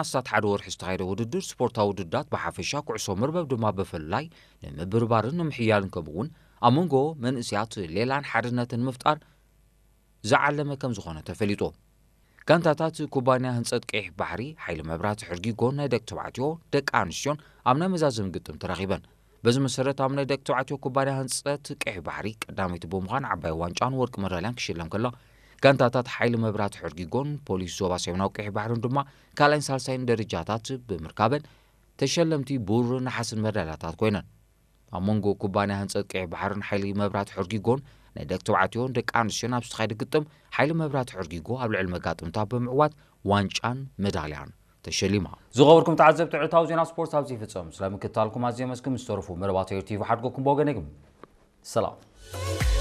ኣስታት ሓደ ወርሒ ዝተኻየደ ውድድር ስፖርታዊ ውድድራት ብሓፈሻ፣ ኩዕሶ መርበብ ድማ ብፍላይ ንምብርባርን ንምሕያልን ከምኡ እውን ኣብ መንጎ መንእሰያት ሌላን ሓድነትን ንምፍጣር ዝዓለመ ከም ዝኾነ ተፈሊጡ። ጋንታታት ኩባንያ ህንጸት ቀይሕ ባሕሪ፣ ሓይሊ መብራህቲ ሕርጊጎን ናይ ደቂ ተባዕትዮ፣ ደቂ ኣንስትዮን ኣብ ናይ መዛዘሚ ግጥም ተራኺበን። በዚ መሰረት ኣብ ናይ ደቂ ተባዕትዮ ኩባንያ ህንጸት ቀይሕ ባሕሪ ቀዳመይቲ ብምዃን ዓባይ ዋንጫን ወርቂ መዳልያን ክሽለም ከሎ፣ ጋንታታት ሓይሊ መብራህቲ ሕርጊጎን ፖሊስ ዞባ ሰሜናዊ ቀይሕ ባሕርን ድማ ካልኣይን ሳልሳይን ደረጃታት ብምርካበን ተሸለምቲ ብሩርን ነሓስን መዳልያታት ኮይነን። ኣብ መንጎ ኩባንያ ህንጸት ቀይሕ ባሕርን ሓይሊ መብራህቲ ሕርጊጎን ናይ ደቂ ተባዕትዮን ደቂ ኣንስትዮን ኣብ ዝተኻየደ ግጥም ሓይሊ መብራህቲ ሕርጊጎ ኣብ ልዕሊ መጋጥምታ ብምዕዋት ዋንጫን መዳልያን ተሸሊማ። ዝኸበርኩም ተዓዘብቲ ዕለታዊ ዜና ስፖርት ኣብዚ ይፍጸም። ስለ ምክትታልኩም ኣዝየ መስግን። ምስ ተረፉ መደባት ኤር ቲቪ ሓድጎኩም ብወገነይ ግን ሰላም።